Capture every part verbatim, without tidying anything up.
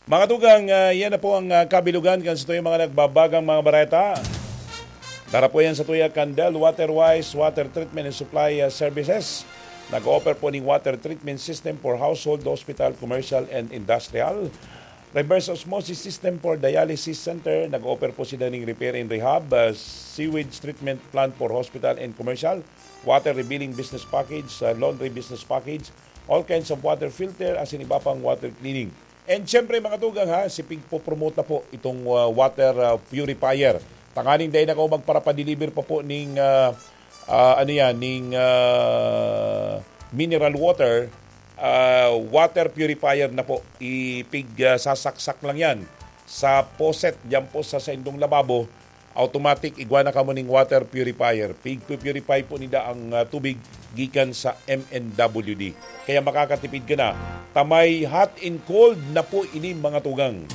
Mga tugang, ah, yan na po ang, ah, kabilugan kan sa tuyang mga nagbabagang mga bareta. Dara po yan sa tuya kan Del Waterwise Water Treatment and Supply, ah, Services. Nag-offer po ning water treatment system for household, hospital, commercial, and industrial. Reverse osmosis system for dialysis center. Nag-offer po sila ning repair and rehab, ah, sewage treatment plant for hospital and commercial, water rebilling business package, ah, laundry business package, all kinds of water filter, asin iba pang water cleaning. And syempre, mga tugang, ha, si pigpo-promote na po itong, ah, water, ah, purifier. Tanganing dai na ako magparapadeliver pa po ning, ah, ah, ano yan, ning, ah, mineral water, ah, water purifier na po. Ipig, ah, sasaksak lang yan sa faucet, diyan po sa saindong lababo. Automatic, igwa na kamo ning water purifier. Pig-purify po nida ang, ah, tubig gikan sa M N W D. Kaya makakatipid ka na. Tamay hot and cold na po ini, mga tugang.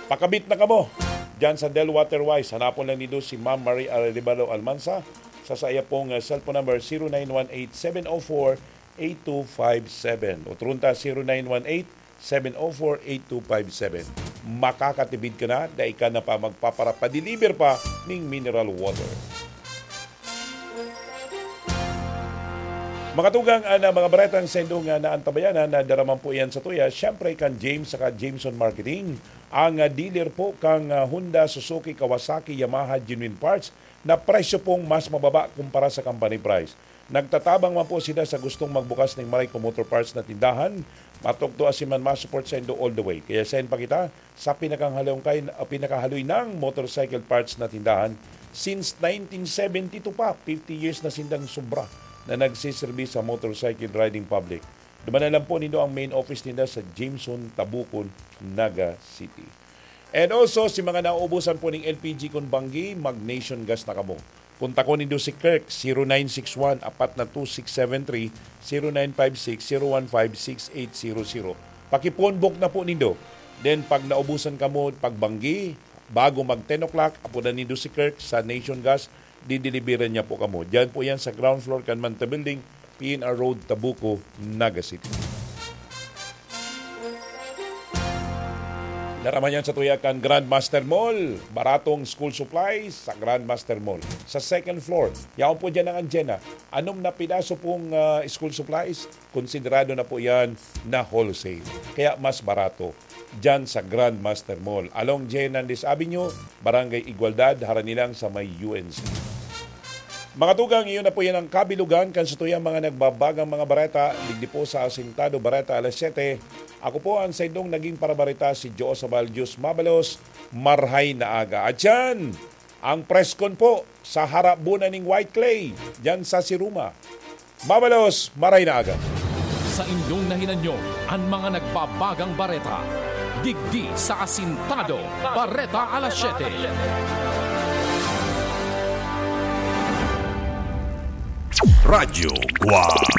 Pakabit na kamo. Diyan sa Del Waterwise, hanapon lang nindo si Ma'am Marie Arevalo Almansa sa saya pong, ah, cellphone number, zero nine one eight, seven oh four, eight two five seven. Otro ta, zero nine one eight, seven oh four, eight two five seven. Makakatipid ka na, dai ka na pa magpaparapadeliver pa ning mineral water. Mga tugang, ana, mga baretang saindo nga naantabayanan, na daraman po yan sa tuya, syempre kan James saka Jameson Marketing, ang, ah, dealer po kang, ah, Honda, Suzuki, Kawasaki, Yamaha, genuine parts, na presyo pong mas mababa kumpara sa company price. Nagtatabang man po sila sa gustong magbukas ning Marayco Motor Parts na tindahan. Matukdo asin man ma-support saindo all the way. Kaya send pa kita sa pinakahaloy, ah, pinakahaloy nang motorcycle parts na tindahan. Since nineteen seventy-two pa, fifty years na sindang sobra na nagsiserbi sa motorcycle riding public. Dumanan lang po nindo ang main office ninda sa Jameson, Tabucon, Naga City. And also, si mga nauubusan po ning L P G kun banggi, mag-Nation Gas na kamo. Kontakon nindo si Kirk, zero nine six one, apat na two six seven three, zero nine five six, zero one five, six eight zero zero. Paki-phone book na po nindo. Then, pag naubusan kamo, pag banggi, bago mag ten o'clock, apodan nindo si Kirk sa Nation Gas, dideliveran niya po kamo. Diyan po yan sa ground floor kan Manta Building, P N R Road, Tabuco, Naga City. Daraman yan sa tuya kan Grandmaster Mall. Baratong school supplies sa Grandmaster Mall. Sa second floor, yaon po dyan ang Anjena. Anom na pidaso pong, ah, school supplies, konsiderado na po yan na wholesale. Kaya mas barato dyan sa Grandmaster Mall, along J. Hernandez Avenue, Barangay Igualdad, harani lang sa may U N C. Mga tugang, iyon na po yan ang kabilugan kan sa tuyang mga nagbabagang mga bareta, digdi po sa Asintado Bareta, alas siyete. Ako po ang saindong naging parabareta, si Joe Sabal. Diyos mabalos, marhay na aga. At yan, ang preskon po sa harap bunan ning White Clay, dyan sa Siruma. Mabalos, maray na aga. Sa inyong nahinanyo, an mga nagbabagang bareta. Digdi sa Asintado, Bareta alas siyete. Radyo Guwang.